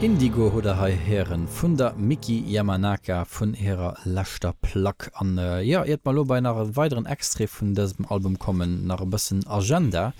Indigo hutt der hei héieren vun der Miki Yamanaka vun hirer leschter Plack. An jo, iert mer elo bei nach e weideren Extrait vun dësem Album kommen, nach e bëssen Agenda.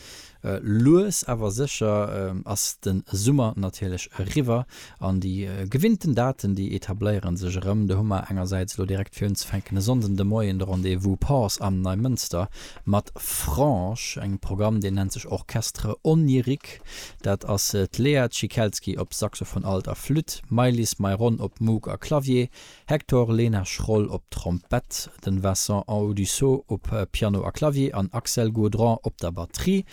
Lues awer sécher ass de Summer natierlech eriwwer an déi gewinnten Daten, déi etabléiere sech erëm. Do hu mer engersäits elo direkt fir unzefänken e Sonnden de Moien de Rendez-vous Pause am Neimënster mat Frange, engem Programm, deen nennt sech Orchestre Onirique. Dat ass d'Lea Cikelski op Saxophon Alt a Flütt, d'Maëlys Mairon op Moog a Clavier, Hector Lena Schroll op Trompett, den Vincent Audusseau op Piano a Clavier an Axel Gaudron op der Batterie.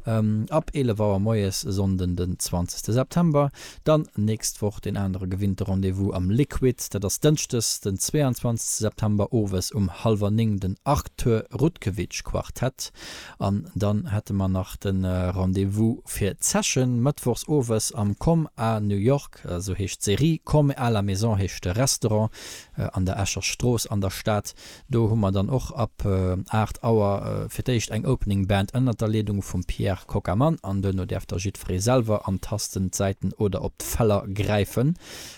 Ab 11 Auer moies e Sonnden den 20 September. Dann nächst Woch deen anere gewinnte Rendez-vous am Liquid, dat ass Dënschdes den 22 September owes um hallwer 9 den Arthur Rutkewitsch Quartett. An dann hätte mer nach de Rendez-vous fir d'Session mëttwochs owes am Comme à New York. Esou heescht d'Serie. Comme à la maison heescht de Restaurant an der Escher Strooss an der Stad. Do hu mer dann och ab 8 Auer fir d'éischt eng Opening Band ënnert der Leedung vum Pierre Coccamann an duerno däerf da jiddweree selwer an d'Tasten, d'Säiten oder op d'Feller gräifen.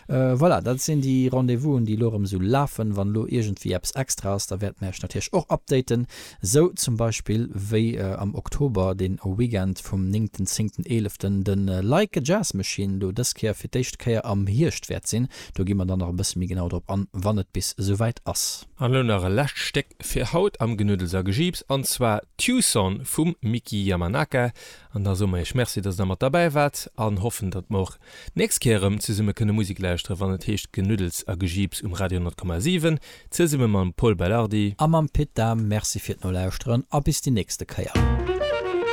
Voilà, dat sinn déi Rendez-vousen, déi elo erëm esou lafen. Wann elo iergendwéi eppes extra ass, da wäerte mer iech natierlech och updaten. Sou zum Beispill wéi am Oktober dee Weekend vum néngten, zéngten, eeleften de Like a Jazz Machine do dës Kéier fir d'éischt Kéier am Hierscht wäert sinn. Do gi mer dann nach e bësse méi genau drop an, wann et bis esouwäit ass. An elo nach e lescht Stéck fir haut am Genuddels a Gejiips, an zwar Tucson vum Miki Yamanaka. An da soe mer iech Merci, dass der mat derbäi waart an hoffen, datt mer och d'nächst Kéier erëm zesumme kënne Musek lauschteren, wann et heescht Genuddels a Gejiips um Radio 10,7, zesumme mam Pol Belardi. A mam Pit Dahm. Merci fir d'Nolauschteren a bis déi nächste Kéier.